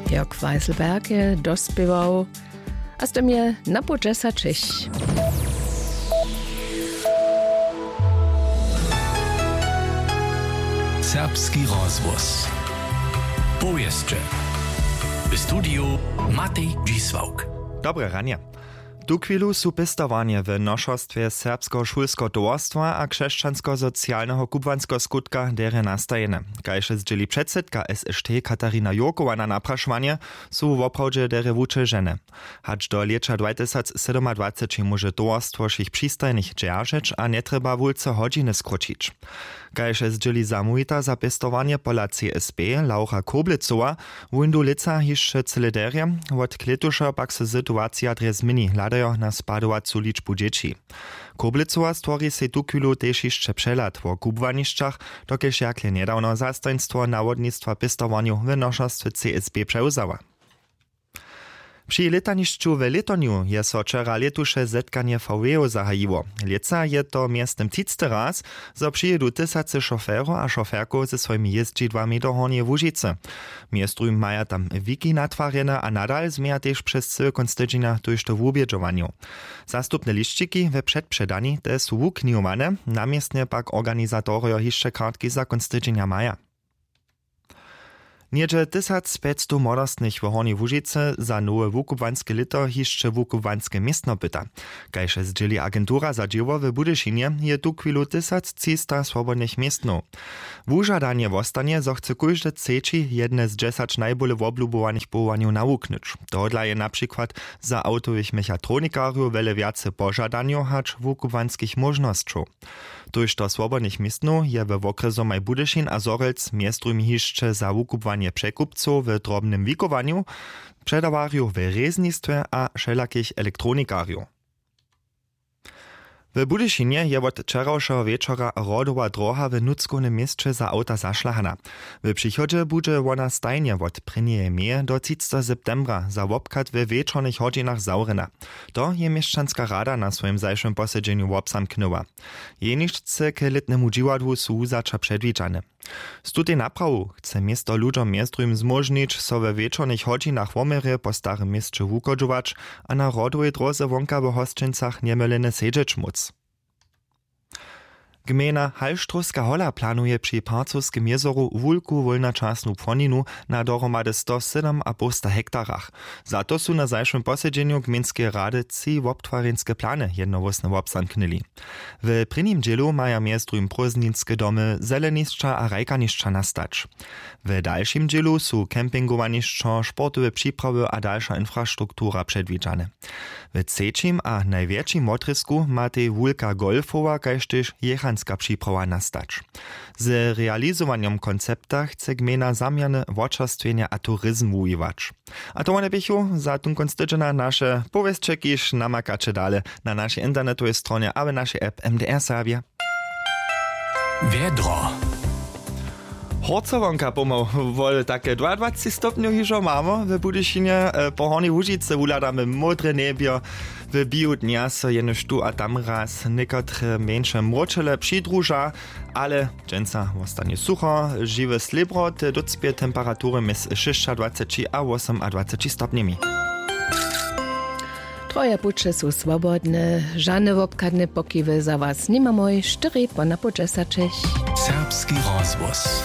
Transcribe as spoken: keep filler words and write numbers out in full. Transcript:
Jörg Weiselberg je dospěwał a z tym je na pół dźesaćich. Serbski rozhłos. Powěsće. W studiju Matej Dźisławk. Dobre ranje. Tuchwilu su pěstowarnje w nošerstwje Serbskeho šulskeho towarstwa a Křesćanskosocialneho kubłanskeho skutka derje nastajene. Kaž zdźěli předsydka S Š T Katarina Jurkowa na naprašowanje, su woprawdźe derje wućežene. Hač do lěća dwatysacsydomadwaceći móže towarstwo wšěch přistajnych dźeržeć a njetrjeba wulce hodźiny skróćić. Kaž zdźěli zamołwita za pěstowarnje pola C S B Laura Koblecowa, wóńdu lětsa hišće cyle derje, wot klětuša pak so situacija drje změni, hladajo na spadowacu ličbu dźěći. Koblecowa stwori sej tuchwilu tež hišće přehlad wo kubłanišćach, dokelž jakle njedawno zastajnstwo nawodnistwa pěstowarnjow w nošerstwje C S B přewzała. Při lětanišću w lětornju je so wčera lětuše zetkanje V W-ow zahajiło. Lětsa je to mjeztym třicty raz, zo přijědu tysacy šoferow a šoferkow ze swojimi jězdźidłami do Hornjeje Łužicy. Mjez druhim maja tam wiki natwarjene a nadal změja tež přez cyły kónc tydźenja tójšto wubědźowanjow. Zastupne lisćiki we předpředani te su wuknihowane, na městnje pak organizatorjo hišće kartki za kónc tydźenja maja. Něhdźe tysac pjećstow młodostnych w Hornjej Łužicy za nowe wukubłanske lěto hišće wukubłanske městno pyta. Kaž zdźěli agentura za dźěło w Budyšinje, je tuchwilu tysac třista swobodnych městnow. Wužadanje wostanje, zo chce kóždy třeći jedne z dźesać najbóle woblubowanych powołanjow nawuknyć. Tohodla je na přikład za awtowych mechatronikarjow wjele wjace požadanjow hač wukubłanskich móžnosćow. Tójšto swobodnych městnow je we wokrjesomaj Budyšin a Zhorjelc mjez druhim hišće za wukubłanje překupcow w drobnym wikowanju, předawarjow we rěznistwje a wšelakich elektronikarjow. W Budyšinje je wot wčerawšeho wječora Hrodowa dróha w nutřkownym měsće za awta zašlahana. W přichodźe budźe wona stajnje wot prěnjeje meje do třicteho septembra za wobchad we wječornych hodźinach zawrjena. To je měšćanska rada na swojim zašłym posedźenju wobzamknyła. Jenišce k lětnemu dźiwadłu su wuzaća předwidźane. Z tutej naprawu chce město ludźom mjez druhim zmóžnić, so we wječornych hodźinach woměrje po starym měsće wuchodźować a na Hrodowej dróze wonka w hosćencach njemylene sedźeć móc. Gmejna Hallštrowska hola planuje při Parcowskim jězoru wulku wólnačasnu płoninu na dohromady sto sydomapołsta hektarach. Za to su na zašłym posedźenju gmejnskeje rady tři wobtwarjenske plany jednohłósnje wobzamknyli. W prěnim dźělu maja mjez druhim prózdninske domy, zelenišća a hrajkanišća nastać. W dalšim dźělu su campingowanišćo, sportowe připrawy a dalša infrastruktura předwidźane. W třećim a najwjetšim wotrězku matej wulka golfowa kaž tež jěchanska připrawa nastać. Z realizowanjom koncepta chce gmejna zaměrne wočerstwjenje a turizm wuwiwać. A to wone běchu za tón kónc tydźenja naše powěsće, kiž namakaće dale na našej internetowej stronje a w našej app M D R Serbje. Wjedro. Horcowonka pomał wol take dwaadwaceći stopnjow hižo mamy w Budyšinje. E, po Hornjej Łužicy wuhladamy módre njebjo. W běhu dnja so jenož tu a tam raz někotre mjeńše mróčele přidruža, ale dźensa wostanje sucho. Žiwe slěbro te dócpě temperatury mjez šěsćadwaceći a wosomadwaceći stopnjemi. Troje puće su swobodne, žane wobchadne pokiwy za was nimamoj, štyri po napołdźesaćich. Serbski rozhłos.